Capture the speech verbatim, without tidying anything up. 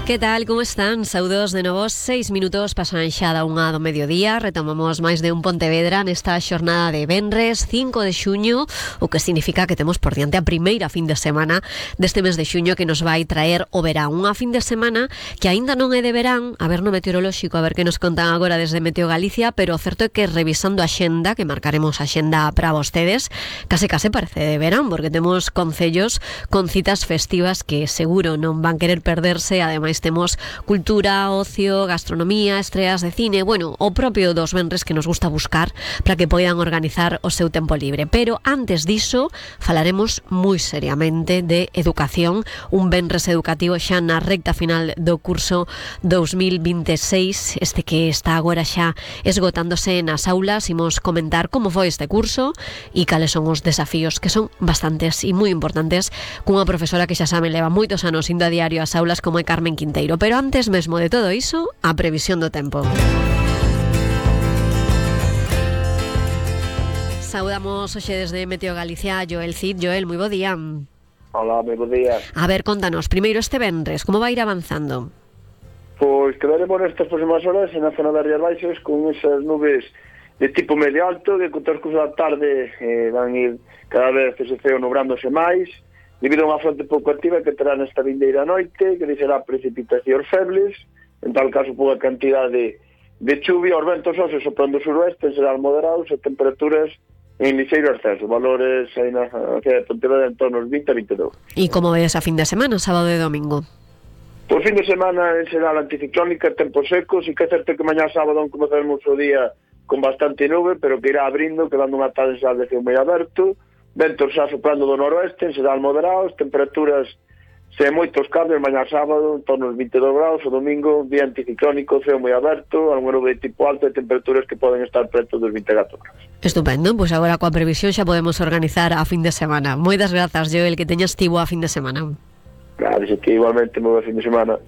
Que tal, como están? Saúdos de novo, seis minutos pasan xa da unha do mediodía. Retomamos máis de un Pontevedra nesta xornada de venres cinco de xuño, o que significa que temos por diante a primeira fin de semana deste mes de xuño que nos vai traer o verán. Unha fin de semana que aínda non é de verán, a ver no meteorolóxico, a ver que nos contan agora desde Meteo Galicia, pero o certo é que revisando a xenda, que marcaremos a xenda para vostedes, case case parece de verán, porque temos concellos con citas festivas que seguro non van querer perderse. Ademais temos cultura, ocio, gastronomía, estreas de cine, bueno, o propio dos venres que nos gusta buscar para que poidan organizar o seu tempo libre. Pero antes diso, falaremos moi seriamente de educación, un venres educativo xa na recta final do curso dos mil vinte e seis, este que está agora xa esgotándose nas aulas. Imos comentar como foi este curso e cales son os desafíos, que son bastantes e moi importantes, cunha profesora que xa saben leva moitos anos indo a diario ás aulas, como é Carmen Quinteiro. Pero antes mesmo de todo iso, a previsión do tempo. Saudamos hoxe desde Meteo Galicia a Joel Cid. Joel, moi bo día. Hola, moi bo día. A ver, contanos, primeiro este venres, como vai ir avanzando? Pois quedaremos nestas próximas horas na zona das Rías Baixas con esas nubes de tipo medio alto que con transcurso da tarde eh, van ir cada vez que se ceo nubrándose máis debido a unha fronte pouco activa que terá nesta vindeira noite, que deixará precipitacións febles, en tal caso pouca cantidade de chuvia. Os ventos hoxe soprando suroeste serán moderados e temperaturas en lixeiro ascenso, valores aí na cidade de Pontevedra en torno aos vinte a vinte e dous. E como ves a fin de semana, sábado e domingo? Por fin de semana será la anticiclónica, tempo seco, si que é certo que mañá sábado comezaremos o día con bastante nube, pero que irá abrindo, quedando unha tarde xa de ceo moi aberto, ventos xa soprando do noroeste, serán moderados, temperaturas sen moitos cambios mañá sábado, en torno aos vinte e dous graus, o domingo, día anticiclónico, ceo moi aberto, algún nube de tipo alto e temperaturas que poden estar preto dos vinte e catro graus. Estupendo, pois agora coa previsión xa podemos organizar a fin de semana. Moitas grazas, Joel, que teñas tivo a fin de semana. Claro, que igualmente moi bo fin de semana.